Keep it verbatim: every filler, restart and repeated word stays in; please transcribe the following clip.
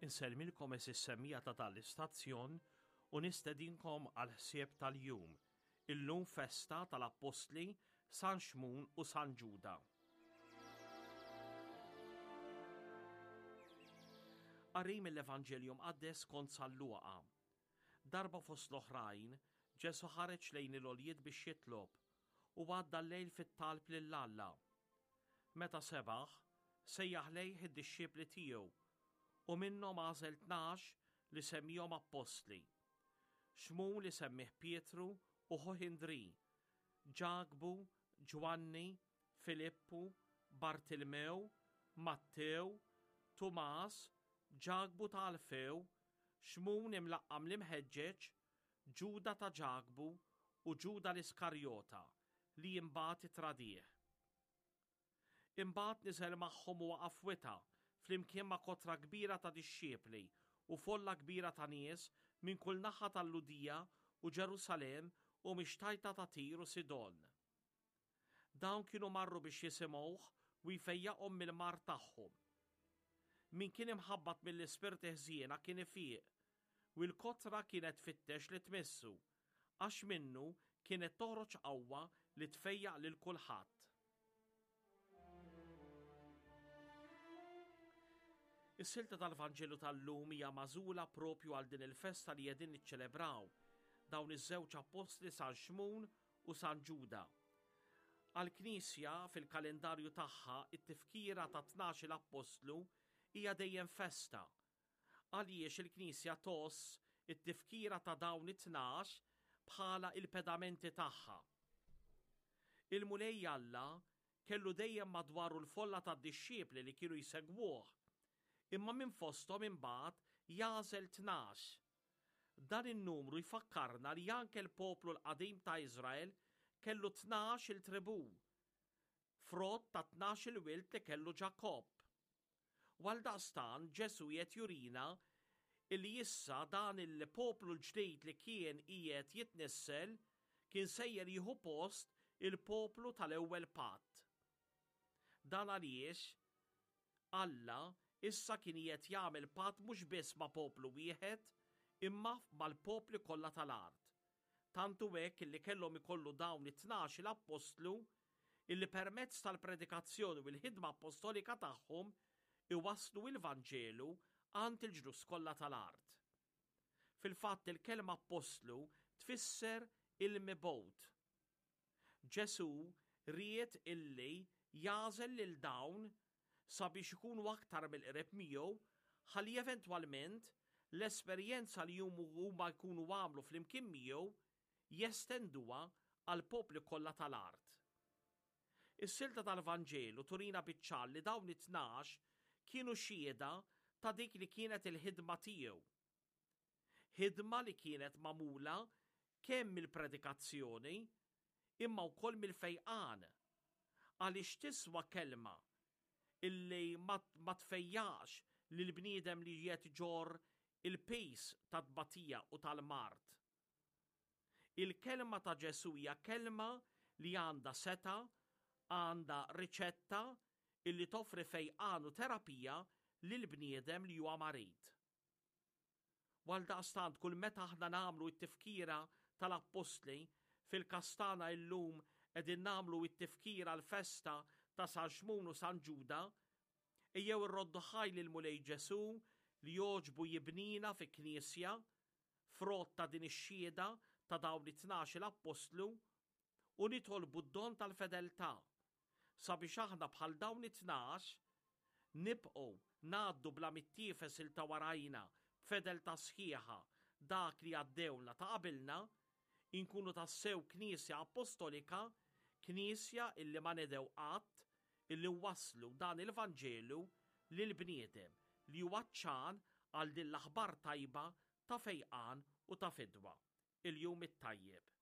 Insellmilkom għeżież semmiegħa ta' dan l-istazzjon u nistedinkom għal ħsieb tal-jum. Illum festa tal-Appostli San Xmun u San Ġuda. Qari mill-Evanġelju Mqaddes skont San Luqa. Darba fost l-oħrajn, Ġesù ħareġ lejn il-għoljiet biex jitlob u għadda l-lejl fit-talb lil Alla. Meta sebaħ, sejjaħ lejh id-dixxipli tiegħu u minnhom għażel tnax li semmihom appostli. Xmun li semmih Pietru u ħuh Indri, Ġakbu, Ġwanni, Filippu, Bartilmew, Mattew, Tumas, Ġakbu ta' Alfew, Xmun imlaqqam l-imħeġġeġ, Ġuda ta' Ġakbu u Ġuda l-Iskarjota li imbagħad ittradih. Imbagħad niżel magħhom u waqaf wita flimkien ma' kotra kbira ta' dixxiepli u folla kbira ta' nies minn kull naħa tal-Lhudija u Ġerusalemm u mix-xtajta ta' Tir u Sidon. Dawn kienu marru biex jisimgħuh u jfejjaqhom mill-mard tagħhom. Min kien imħabbat mill-ispirti ħżiena kien ifiq, u l-kotra kienet tfittex li tmissu, għax minnu kienet toħroġ qawwa li tfejjaq lil kulħadd. Is-silta tal-Vanġelu tal-lum hija magħżula propju għal din il-festa li qegħdin niċċelebraw dawn iż-żewġ appostli San Xmun u San Ġuda. Għall-Knisja fil-kalendarju tagħha it-tifkira ta' tnax-il appostlu hija dejjem festa. Għaliex il-Knisja tgħożż it-tifkira ta' dawn it-tnax bħala il-pedamenti tagħha. Il-Mulej Alla kellu dejjem madwaru l-folla tad-dixxiepli li kienu jsegwuh, imma minn fosthom imbagħad jagħżel tnax. Dan in-numru jfakkarna li anke l-poplu l-qadim ta' Iżrael kellu tnax il-tribù, frott ta' tnax il-wild li kellu Ġakobb. U għaldaqstant Ġesù qiegħed jurina illi issa dan il-poplu l-ġdid li kien qiegħed jitnissel kien sejjer jieħu post il-poplu tal-ewwel patt. Dan għaliex Alla issa kien qiegħed jagħmel patt mhux biss ma' poplu wieħed imma mal-popli kollha tal-art. Tant hu hekk illi kellhom ikollu dawn it-tnax il-appostlu illi permezz tal-predikazzjoni u l-ħidma apostolika tagħhom iwasslu il-Vanġelu għand il-ġnus kollha tal-art. Fil-fatt il-kelma appostlu tfisser il-mibgħut. Ġesù ried illi jagħżel lil dawn sabiex ikunu aktar mill-qrib miegħu ħalli eventwalment l-esperjenza li huma jkunu għamlu flimkien miegħu jestenduha għall-popli kollha tal-art. Is-silta tal-Vanġelu turina biċ-ċar li dawn it-tnax kienu xhieda ta' dik li kienet il-ħidma tiegħu. Ħidma li kienet magħmula kemm mill-predikazzjoni imma wkoll mill-fejqan, għaliex tiswa kelma illi ma tfejjax lil bniedem li qiegħed iġorr il-pis tat-tbatija u tal-mard. Il-kelma ta' Ġesù hija kelma li għandha seta, għandha riċetta illi toffri fejqan u terapija lil bniedem li huwa marid. Għaldaqstant kull meta aħna nagħmlu t-tifkira tal-appostli, fil-każ tagħna illum qegħdin nagħmlu t-tifkira l-festa ta' San Xmun u San Ġuda, ejjew irroddu ħaj lil Mulej Ġesù li jogħġbu jibnina fi knisja, frott ta' din ix-xhieda ta' dawn it-tnax-il appostlu, u nitolbu d-don tal-fedeltà sabiex aħna bħal dawn it-tnax nibqgħu ngħaddu bla mittiefes il ta' warajna b'fedeltà sħiħa dak li għaddewna ta' qabilna, inkunu tassew knisja apostolika, knisja illi ma nedew qatt illi wasslu dan il-Vanġelu lil bniedem li huwa ċan għal din l-aħbar tajba ta' fejqan u ta' fidwa. Il-jum it-tajjeb.